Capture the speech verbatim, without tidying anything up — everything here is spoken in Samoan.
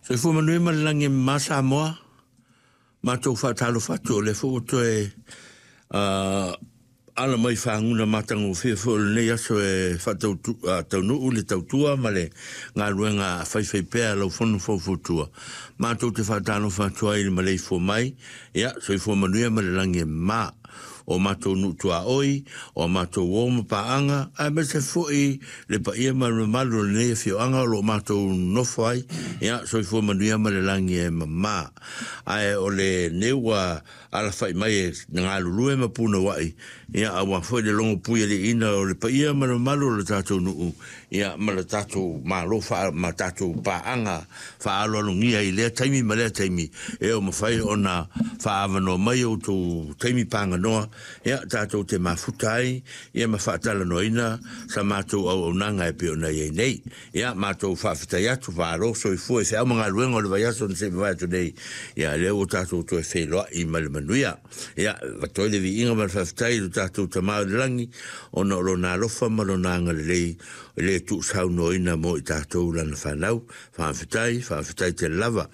Soifua manuia ma le lagi e mama Samoa. Matou faatalofa atu o lea foi ua toe uh, ala mai faguna matagofie foi o lenei aso e faataunuu le tautua ma le galuega faifaipea lau fono faufautua. Matou te faatalofa atu ai i le maleifua mai, ia, soifua manuia ma le lagi e mama. O matou nuu tuaoi, o matou uo ma paaga, aemaise foi le paia ma le mamalu o lenei afioaga o lo o matou nofo ai, ia, soifua manuia ma le lagi e mama. Ae o lenei ua alafai mai e galulue ma punouai, ia, aua foi le logopuialiiina o le paia ma le mamalu o le tatou nuu, ia, ma le tatou Malo faa, ma tatou paaga faaaloalogia i lea taimi ma lea taimi, e o mafai ona faaavanoa mai outou taimi paganoa, ia, tatou te mafuta ai, ia, ma faatalanoaina sa matou auaunaga e pei ona i ai nei. Ia, matou faafetai atu, faalo soifua i feau ma galuega o le vaiaso na se i mavae atu nei, ia, lea ua tatou toe feiloai ma le manuia. Ia, avatu ai le viiga ma le faafetai i lo tatou Tama o le lagi, ona o lona alofa ma lona agalelei e le tuusaunoaina mo i tatou lana fanau. Faafetai, faafetai tele lava.